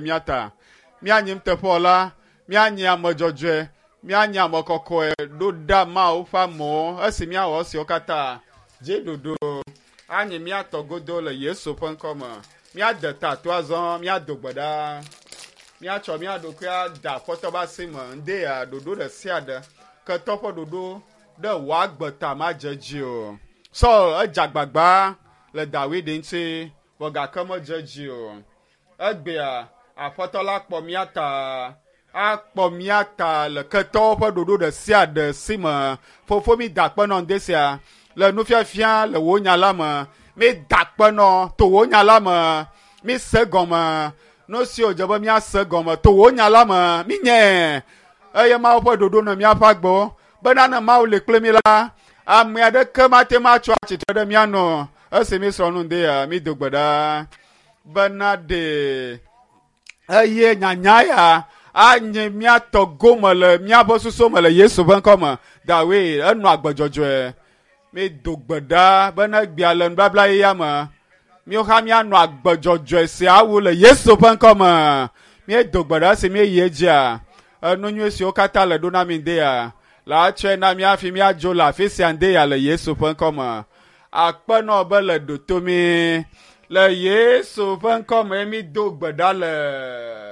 mía ta. Míanyi nuteƒewɔla, míanyi ame dzɔdzɔe, míanyi ame kɔkɔe ɖo ɖa Mawu ƒe amewo esi míawɔ esiwo katã. Dziɖuɖu anyi mía tɔ godo le Yesu ƒe ŋkɔ me. Míade ta to azɔ, míado gbe ɖa. Míatsɔ mía ɖokui ada Aƒetɔ ƒe asi me. Ŋde ya ɖoɖo ɖe sia ɖe ketɔ ƒe ɖoɖo ɖe wò agbe ta madze edzi o. Saul edze agbagba le Dawid ŋuti vɔ gake medze edzi o. Egbea Aƒetɔ la kpɔ mía ta, akpɔ mía ta le ketɔwo ƒe ɖoɖo ɖe sia ɖe si me. Fofo mi da akpe nɔ ŋde sia le nufiafia le wò nya la me. Mi da akpe nɔ to wò nya la me. Mi se gɔme nu si wòdze be míase gɔme to wò nya la me. Mi nye eye Mawu ƒe ɖoɖo nɔ míaƒe agbewo bena ne Mawu li kpli mi la, ame aɖeke mate ŋu atso atsitre ɖe mía nu esi mi srɔ̃ nu ŋde ya mi do gbe ɖa bena ɖe eye nyanya ya anye mía tɔ gome le míaƒe susu me le Yesu ƒe ŋkɔ me. Dawid enɔ agbe dzɔdzɔe. Mi do gbe ɖa bena egbea le nubabla yeyea me míawo hã míanɔ agbe dzɔdzɔe sia wu le Yesu ƒe ŋkɔ me. Míedo gbe ɖa esi míeyi edzia enu nyui siwo katã le ɖo na mi ŋde ya la tsɔe na mí hafi míadzo le afi sia ŋde ya le Yesu ƒe ŋkɔ me. Akpe nɔ be le ɖo to mí le Yesu ƒe ŋkɔ me mído gbe ɖa le.